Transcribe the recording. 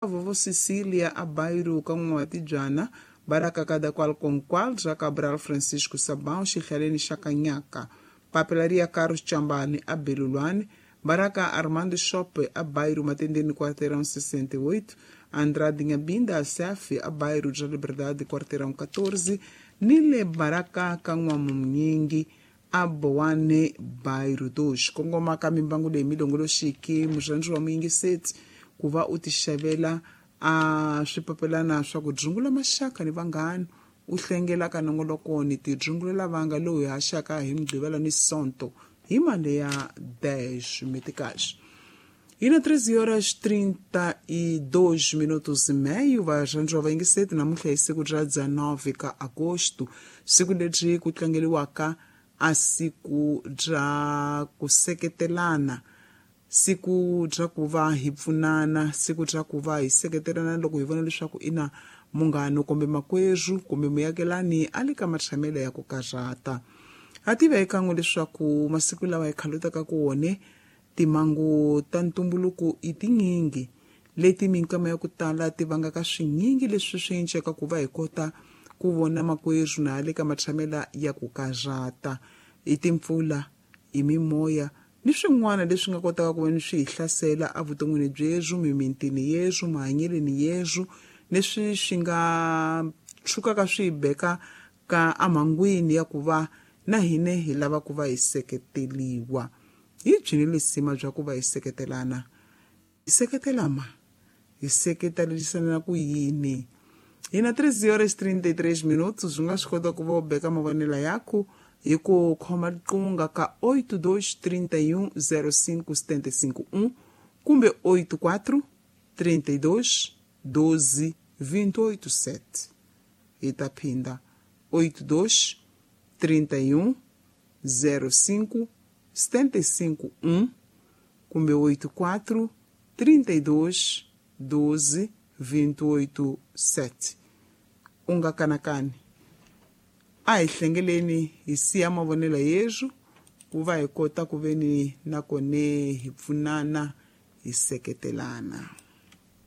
Vovó Cecília Abairo Kan'watibyana Baraka cada qual com qual já Cabral Francisco Sabão Xihlaleni xa Kanyaka Papelaria Carlos Chambane a Belulwane Baraka Armando Shop a Bairro Matendene Quarteirão 68 Andrade Nhabinda a Sef a Bairro da Liberdade Quarteirão 14 Nile Baraka Kan'wamunyingi a Boane Bairro 2 kongoma ka mimbangu leyi milongoloxiki murhandzi wa muyingiseti ku va u tixavela a swipapelana swa ku dzungula maxaka ni vanghana u hlengela ka nongoloko ni tidzungulela vanga lowu hi haxaka hi mugqivela ni sonto hi mali ya 10 meticais. E na 13 horas 32 minutos e meio, varhandzi va yingiseti namuntlha hi siku ra 19 ka agosto, siku leri ku tlangeriwaka a siku ra ku seketelana, siku ra ku va hi pfunana, siku ra ku va hi seketelana loko hi vona leswaku ina munghano kumbe makwerhu kumbe muakelani a le ka matshamelo ya ku karhata. Ha tiva ekan'we leswaku masiku lawa hi khalutaka ku wone timhangu ta ntumbuluko i tinyingi leti minkama ya ku tala ti vangaka swinyingi leswi swi enceka ku va hi kota ku vona makwerhu na le ka matshamela ya ku karhata i timpfula i mimoya ni swin'wana leswi nga kotaka ku va ni swi hi hlasela evuton'wini byerhu mimitini yerhu mahanyeleni yerhu leswi swi nga tshukaka swi hi beka ka emhangwini ya ku va na hine hi lava ku va hi seketeliwa. Hi byini lisima bya ku va hi seketelana? Hi seketela ma? Hi seketelisana ku yini? Hi na 3 horas 33 minutos u nga swi kota ku va u beka mavonelo yaku hi ku khoma riqingho ka 8231 05 751 kumbe 84 32 12 287. Hi ta phinda 82 31 05 751 kumbe 84 32 12 287. U nga kanakani, a hi hlengeleni hi siya mavonelo yerhu ku va hi kota ku ve ni nakone hi pfunana hi seketelana.